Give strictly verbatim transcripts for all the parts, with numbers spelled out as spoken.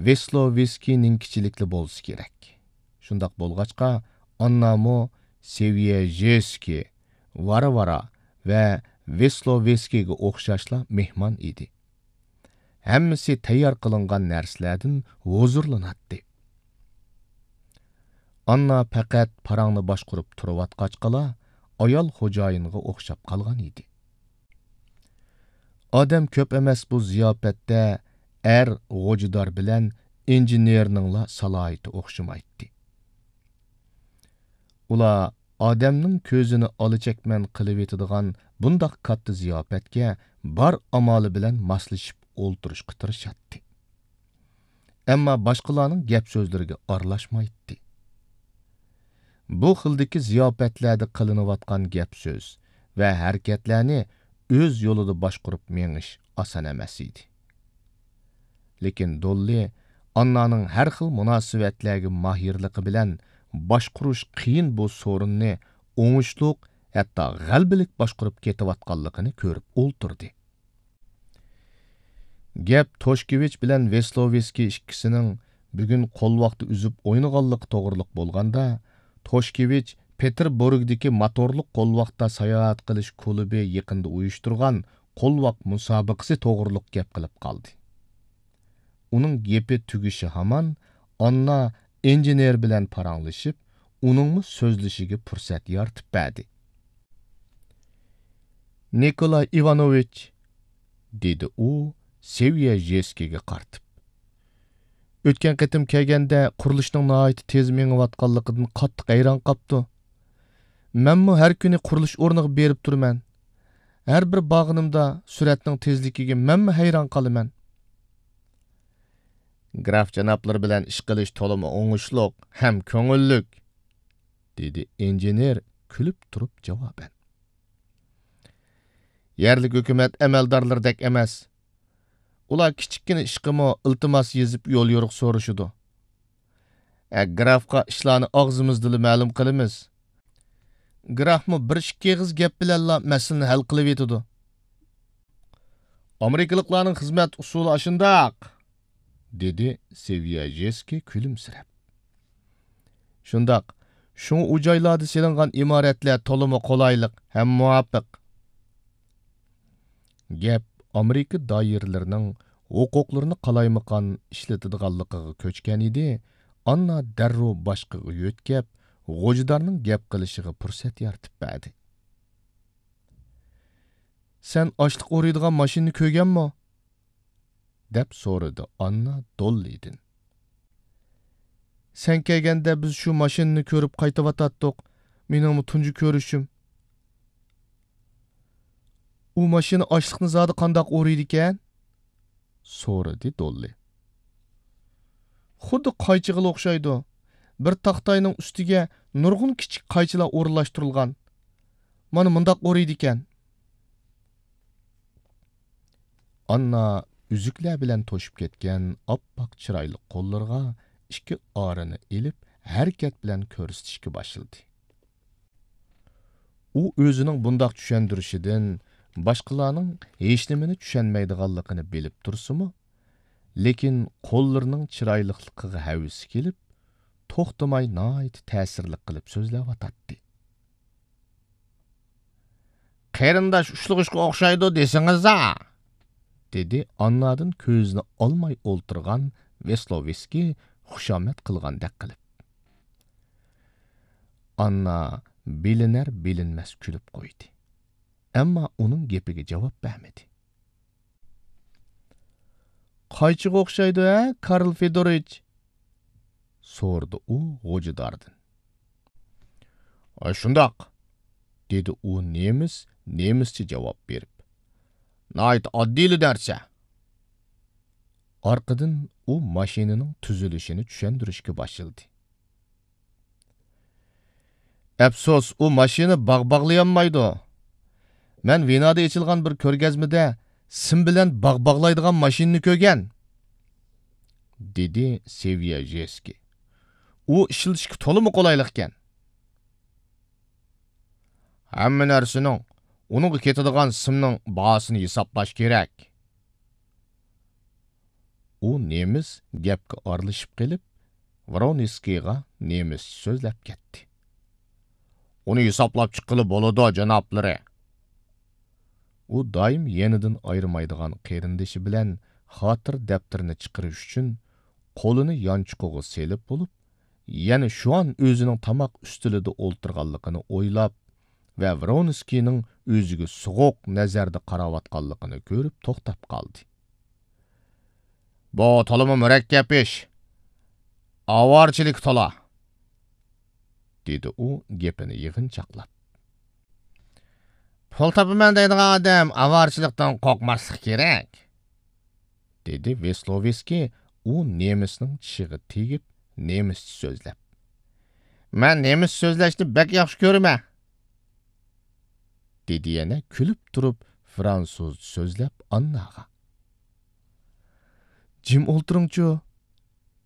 ۋېسلوۋېسكىينىڭكىچىلىكلا بولسا كېرەك. شۇنداق بولغاچقا، ئاننامۇ سېۋيېژېسكىي، ۋارۋارا ۋە ۋېسلوۋېسكىيگە ئوخشاشلا مېھمان ئىدى. ھەممىسى تەييار قىلىنغان نەرسىلەردىن ھۇزۇرلىناتتى. ئاننا پەقەت پاراڭنى باشقۇرۇپ تۇرۇۋاتقاچقىلا، ئايال خوجايىنغا ئوخشاپ قالغان ئىدى. ئادەم كۆپ ئەمەس بۇ زىياپەتتە ئەر غوجىدار بىلەن ئىنژېنېرنىڭلا سالاھىيىتى ئوخشىمايتتى. ئۇلار ئادەمنىڭ كۆزىنى ئالا چەكمەن قىلىۋېتىدىغان بۇنداق كاتتا زىياپەتكە بار ئامالى بىلەن ماسلىشىپ ئولتۇرۇشقا تىرىشاتتى. ئەمما باشقىلارنىڭ گەپ سۆزلىرىگە ئارىلاشمايتتى. بۇ خىلدىكى زىياپەتلەردە قىلىنىۋاتقان گەپ سۆز ۋە ھەرىكەتلەرنى ئۆز يولىدا باشقۇرۇپ مېڭىش ئاسان ئەمەس ئىدى. لېكىن دوللى ئاننانىڭ ھەر خىل مۇناسىۋەتلەرگە ماھىرلىقى بىلەن باشقۇرۇش قىيىن بۇ سورۇننى ئوڭۇشلۇق، ھەتتا غەلىبىلىك باشقۇرۇپ كېتىۋاتقانلىقىنى كۆرۈپ ئولتۇردى. گەپ توشكېۋىچ بىلەن ۋېسلوۋېسكىي ئىككىسىنىڭ بۈگۈن قولۋاقتا ئۈزۈپ ئوينىغانلىقى توغرىلىق بولغاندا، توشكېۋىچ پېتېربۇرگدىكى موتورلۇق قولۋاقتا ساياھەت قىلىش كۇلۇبى يېقىندا ئۇيۇشتۇرغان قولۋاق مۇسابىقىسى توغرىلىق گەپ قىلىپ قالدى. ئۇنىڭ گېپى تۈگىشى ھامان، ئاننا ئىنژېنېر بىلەن پاراڭلىشىپ، ئۇنىڭمۇ سۆزلىشىگە پۇرسەت يارىتىپ بەردى. نىكولاي ئىۋانوۋىچ، دېدى ئۇ سېۋيەژېسكىيگە قارىتىپ. ئۆتكەن قېتىم كەلگەندە قۇرۇلۇشنىڭ ناھايىتى تېز مېڭىۋاتقانلىقىدىن قاتتىق ھەيران قاپتۇ. مەنمۇ ھەر كۈنى قۇرۇلۇش ئورنىغا بېرىپ تۇرىمەن. ھەر بىر بارغىنىمدا سۈرئەتنىڭ تېزلىكىگە مەنمۇ ھەيران قالىمەن. گراف جانابلىرى بىلەن ئىش قىلىش تولىمۇ ئوڭۇشلۇق ھەم كۆڭۈللۈك، دېدى ئىنژېنېر كۈلۈپ تۇرۇپ جاۋابەن. يەرلىك ھۆكۈمەت ئەمەلدارلىرىدەك ئەمەس. ئۇلار كىچىككىنە ئىشقىمۇ ئىلتىماس يېزىپ يول يورۇق سورىشىدۇ. ئە، گرافقا ئىشلارنى ئاغزىمىزدىلا مەلۇم قىلىمىز. گرافمۇ بىر ئىككى ئېغىز گەپ بىلەنلا مەسىلىنى ھەل قىلىۋېتىدۇ. ئامېرىكىلىقلارنىڭ خىزمەت ئۇسۇلى ئاشۇنداق، دېدى سېۋياژېسكىي كۈلۈمسىرەپ. شۇنداق، شۇڭا ئۇ جايلاردا سېلىنغان ئىمارەتلەر تولىمۇ قولايلىق ھەم مۇۋاپىق. گەپ ئامېرىكا دائىرىلىرىنىڭ ھوقۇقلىرىنى قالايمىقان ئىشلىتىدىغانلىقىغا كۆچكەن ئىدى، ئاننا دەررۇ باشقىغا يۆتكەپ، غوجىدارنىڭ گەپ قىلىشىغا پۇرسەت يارىتىپ بەردى. سەن ئاشلىق ئورىيدىغان ماشىنىنى كۆرگەنمۇ؟ دەپ سورىدى ئاننا دوللىدىن. سەن كەلگەندە بىز شۇ ماشىنىنى كۆرۈپ قايتىۋاتاتتۇق. مېنىڭمۇ تۇنجى كۆرۈشۈم. ئۇ ماشىنا ئاشلىقنى زادى قانداق ئورىيدىكەن؟ سورىدى دوللى. خۇددى قايچىغىلا ئوخشايدۇ. بىر تاختاينىڭ ئۈستىگە نۇرغۇن كىچىك قايچىلار ئورۇنلاشتۇرۇلغان. مانا مۇنداق ئورىيدىكەن. ئاننا ئۈزۈكلەر بىلەن توشۇپ كەتكەن ئاپئاق چىرايلىق قوللىرىغا ئىككى ئارىنى ئېلىپ، ھەرىكەت بىلەن كۆرسىتىشكە باشلىدى. ئۇ ئۆزىنىڭ بۇنداق چۈشەندۈرۈشىدىن باشقىلارنىڭ ھېچنېمىنى چۈشەنمەيدىغانلىقىنى بىلىپ تۇرسىمۇ، لېكىن قوللىرىنىڭ چىرايلىقلىقىغا ھەۋىسى كېلىپ، توختىماي ناھايىتى تەسىرلىك قىلىپ سۆزلەۋاتاتتى. قېرىنداش ئۇشلىغۇچقا ئوخشايدۇ دېسىڭىزا! دېدى ئاننادىن كۆزىنى ئالماي ئولتۇرغان ۋېسلوۋېسكىي خۇشامەت قىلغاندەك قىلىپ. ئاننا بىلىنەر-بىلىنمەس كۈلۈپ قويدى. ئەمما ئۇنىڭ گېپىگە جاۋاب بەرمىدى. قايچىغا ئوخشايدۇ ھە، كارل فېدوروۋىچ؟ سورىدى ئۇ غوجىداردىن. ئاشۇنداق، دېدى ئۇ نېمىس، نېمىسچە جاۋاب بېرىپ. ناھايىتى ئاددىيلا نەرسە. ئارقىدىن ئۇ ماشىنىنىڭ تۈزۈلۈشىنى چۈشەندۈرۈشكە باشلىدى. ئەپسۇس، ئۇ ماشىنا باغ باغلىيالمايدۇ. مەن ۋېنادا ئېچىلغان بىر كۆرگەزمىدە سىم بىلەن باغ باغلايدىغان ماشىنىنى كۆرگەن، دېدى سېۋياژېسكىي. ئۇ ئىشلىتىشكە تولىمۇ قولايلىق ئىكەن. ھەممە نەرسىنىڭ، ئۇنىڭغا كېتىدىغان سىمنىڭ باھاسىنى ھېسابلاش كېرەك. ئۇ نېمىس گەپكە ئارىلىشىپ قېلىپ، ۋرونسكىيغا نېمىسچە سۆزلەپ كەتتى. ئۇنى ھېسابلاپ چىققىلى بولىدۇ، جانابلىرى. ئۇ دائىم يېنىدىن ئايرىمايدىغان قېرىندىشى بىلەن خاتىرە دەپتىرىنى چىقىرىش ئۈچۈن قولىنى يانچۇقىغا سېلىپ بولۇپ، يەنە شۇئان ئۆزىنىڭ تاماق ئۈستىلىدە ئولتۇرغانلىقىنى ئويلاپ ۋە ۋرونسكىينىڭ ئۆزىگە سوغۇق نەزەردە قاراۋاتقانلىقىنى كۆرۈپ توختاپ قالدى. بۇ تولىمۇ مۇرەككەپ ئىش. ئاۋارىچىلىك تولا، دېدى ئۇ گېپىنى يىغىنچاقلاپ. پۇل تاپىمەن دەيدىغان ئادەم ئاۋارىچىلىقتىن قورقماسلىقى كېرەك، دېدى ۋېسلوۋېسكىي ئۇ نېمىسنىڭ چىشىغا تېگىپ، نېمىسچە سۆزلەپ. مەن نېمىسچە سۆزلەشنى بەك ياخشى كۆرىمەن، دېدى يەنە كۈلۈپ تۇرۇپ فرانسۇزچە سۆزلەپ ئانناغا. جىم ئولتۇرۇڭچۇ،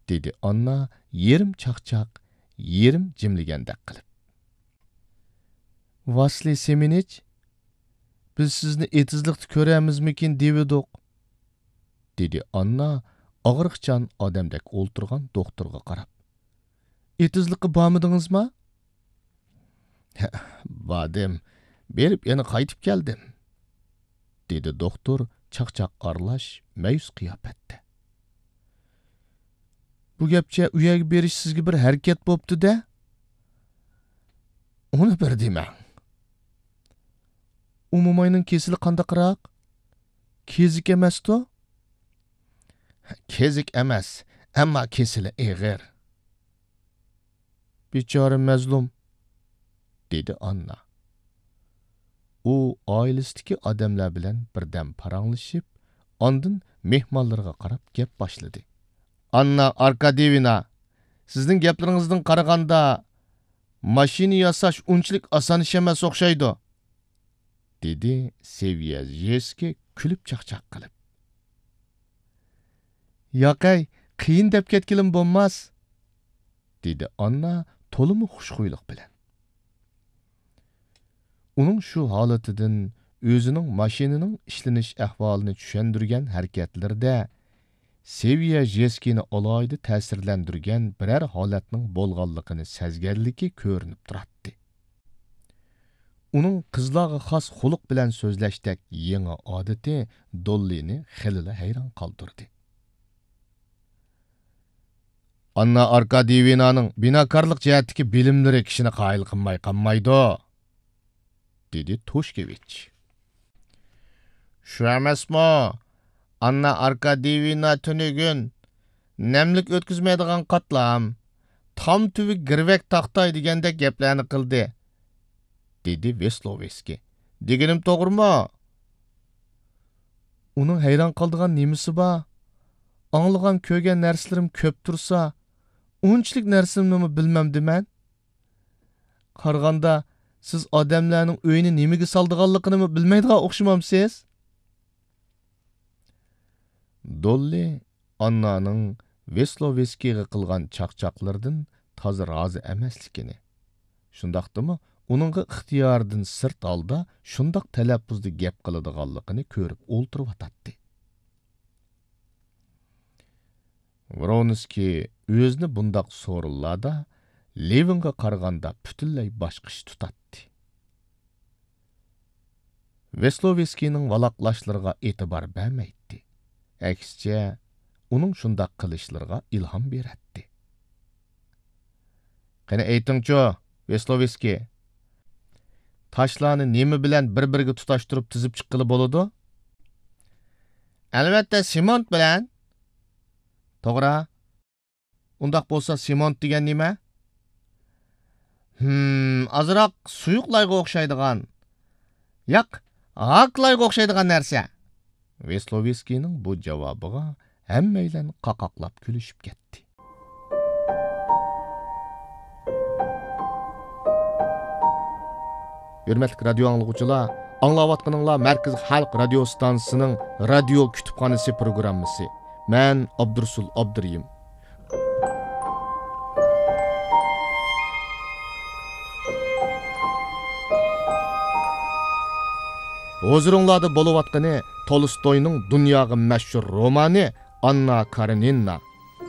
دېدى ئاننا يېرىم چاقچاق، يېرىم جىملىگەندەك قىلىپ. ۋاسلىي سېمېنىچ، بىز سىزنى ئېتىزلىقتا كۆرەرمىزمىكىن دېۋىدۇق، دېدى ئاننا ئاغرىقچان ئادەمدەك ئولتۇرغان دوختۇرغا قاراپ. ئېتىزلىققا بارمىدىڭىزما؟ باردىم، بېرىپ يەنە قايتىپ كەلدىم، دېدى دوختۇر چاقچاق ئارىلاش مەيۈس قىياپەتتە. بۇ گەپچە ئۇ يەرگە بېرىش سىزگە بىر ھەرىكەت بوپتۇ-دە؟ ئۇنى بىر دېمەڭ. ئۇ موماينىڭ كېسىلى قانداقراق؟ كېزىك ئەمەستۇ؟ كېزىك ئەمەس، ئەمما كېسىلى ئېغىر. بىچارە مەزلۇم، دېدى ئاننا. ئۇ ئائىلىسىدىكى ئادەملەر بىلەن بىردەم پاراڭلىشىپ، ئاندىن مېھمانلىرىغا قاراپ گەپ باشلىدى. ئاننا ئاركاديېۋنا، سىزنىڭ گەپلىرىڭىزدىن قارىغاندا، ماشىنا ياساش ئۇنچىلىك ئاسان ئىش ئەمەس ئوخشايدۇ، دېدى سېۋيەژېسكىي كۈلۈپ چاقچاق قىلىپ. ياقەي، قىيىن دەپ كەتكىلىمۇ بولماس، دېدى ئاننا تولىمۇ خۇشخۇيلۇق بىلەن. ئۇنىڭ شۇ ھالىتىدىن ئۆزىنىڭ ماشىنىنىڭ ئىشلىنىش ئەھۋالىنى چۈشەندۈرگەن ھەرىكەتلىرىدە سېۋيەژېسكىينى ئالاھىدە تەسىرلەندۈرگەن بىرەر ھالەتنىڭ بولغانلىقىنى سەزگەنلىكى كۆرۈنۈپ تۇراتتى. ئۇنىڭ قىزلارغا خاس خۇلق بىلەن سۆزلەشتەك يېڭى ئادىتى دوللىنى خېلىلا ھەيران قالدۇردى. ئاننا ئاركاديېۋنانىڭ بىناكارلىق جەھەتتىكى بىلىملىرى كىشىنى قايىل قىلماي قالمايدۇ، دېدى توشكېۋىچ. شۇ ئەمەسمۇ، ئاننا ئاركاديېۋنا تۈنۈگۈن نەملىك ئۆتكۈزمەيدىغان قاتلام، تام تۈۋى گىرۋەك تاختاي دېگەندەك گەپلەرنى قىلدى، دېدى ۋېسلوۋېسكىي. دېگىنىم توغرىمۇ؟ ئۇنىڭ ھەيران قالىدىغان نېمىسى بار؟ ئاڭلىغان، كۆرگەن نەرسىلىرىم كۆپ تۇرسا، ئۇنچىلىك نەرسىنىمۇ بىلمەمدى مەن؟ قارىغاندا، سىز ئادەملەرنىڭ ئۆيىنى نېمىگە سالىدىغانلىقىنىمۇ بىلمەيدىغان ئوخشىمامسىز؟ دوللى ئاننانىڭ ۋېسلوۋېسكىيغا قىلغان چاقچاقلىرىدىن تازا رازى ئەمەسلىكىنى، شۇنداقتىمۇ ئۇنىڭغا ئىختىيارىدىن سىرت ھالدا شۇنداق تەلەپپۇزدا گەپ قىلىدىغانلىقىنى كۆرۈپ ئولتۇرۇۋاتاتتى. ۋرونسكىي ئۆزىنى بۇنداق سورۇنلاردا لېۋىنغا قارىغاندا پۈتۈنلەي باشقىچە تۇتاتتى. ۋېسلوۋېسكىينىڭ ۋالاقلاشلىرىغا ئېتىبار بەرمەيتتى. ئەكسىچە، ئۇنىڭ شۇنداق قىلىشلىرىغا ئىلھام بېرەتتى. قېنى ئېيتىڭچۇ، ۋېسلوۋېسكىي، تاشلارنى نېمە بىلەن بىر-بىرىگە تۇتاشتۇرۇپ تىزىپ چىققىلى بولىدۇ؟ ئەلۋەتتە، سېمونت بىلەن. توغرا. ئۇنداق بولسا، سېمونت دېگەن نېمە؟ ھىم، ئازراق سۇيۇقلايغا ئوخشايدىغان. ياق، ھاكلايغا ئوخشايدىغان نەرسە. ۋېسلوۋېسكىينىڭ بۇ جاۋابىغا ھەممەيلەن قاقاقلاپ كۈلۈشۈپ كەتتى. ھۆرمەتلىك رادىيو ئاڭلىغۇچىلار، ئاڭلاۋاتقىنىڭلار مەركىزىي خەلق رادىيو ستانسىسىنىڭ رادىيو كۇتۇپخانىسى پروگراممىسى. مەن ئابدۇرۇسۇل ئابدۇرېھىم. ھۇزۇرۇڭلاردا بولۇۋاتقىنى تولستوينىڭ دۇنياغا مەشھۇر رومانى ئاننا كارېنىنا.